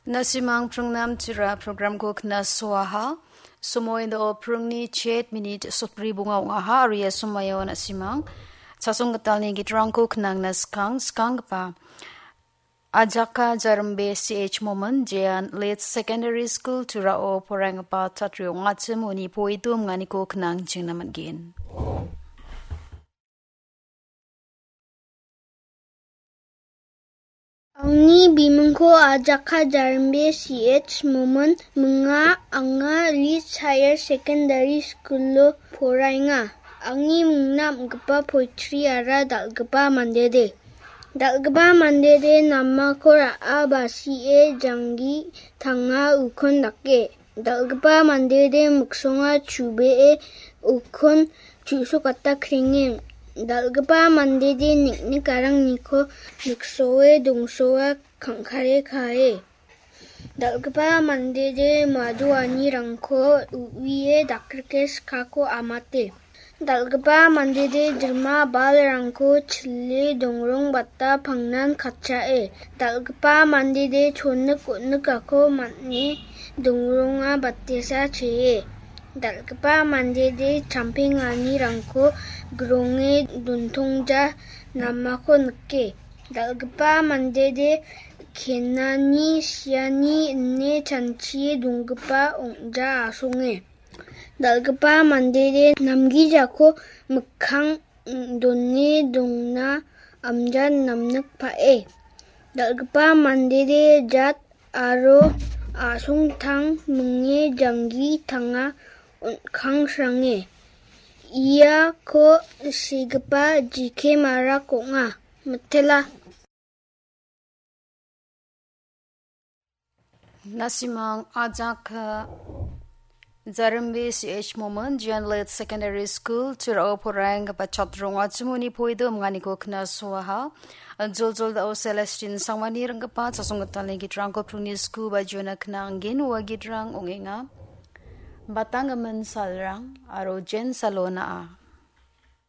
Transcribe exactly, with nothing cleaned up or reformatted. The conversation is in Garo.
Nasimang pringnam tira programko knasoaha. Somoindo pringni chet minit sotbri bonga ong·aha, aro ia somoio nasimang chasong gitalni gitrangko knangna skang, skanggipa Ajaka Jarimbe C H Momin, jean Late Secondary School Turao poraienggipa chatri ong·achim uni poitum ganiko knang chingna man·gen. Angni bimingko Ajaka Jarimbe C H Momin minga, anga Leeds Higher Secondary School-o poraenga. Angni mingna am·gipa poetry-ara dal·gipa mandede. Dal·gipa mandede namako ra·a basie janggi tanga ukon dake. Dal·gipa mandede miksonga chubee ukon chu·sokata krenge. Dal·gipa mandede nik·nik arangniko miksoe dongsoa kangkare kae. Dal·gipa mandede madoanirangko u·ie dakrike skako amate. Dal·gipa mandede dirma balrangko chile dongrongbata pangnan katchae. Dal·gipa mandede chonik onikako man·e dongronga batesa chee. Dal·gipa mandede champenganirangko gronge dontongja namako nike. Dal·gipa mandede kenani siani ine chanchie donggipa ong·ja asonge. Dal·gipa mandede namgijako mikkang done dongna amja namnikpae. Dal·gipa mandede jat aro asongtang minge janggi tanga on·kangsrange. Iako sigipa jike marak ong·a. Mitela. Nasimang ajak, eh, Jarimbe C H Momin, jean Late Secondary School Turao poraienggipa chatri ong·achim uni poido minganiko knasoaha. Joljol dao Celestine Sangmani ringgipa chasong gitalni gitrangko pringni sku bajiona knanggen ua gitrang ong·enga. Batanggimin salrang aro Jen Salona a.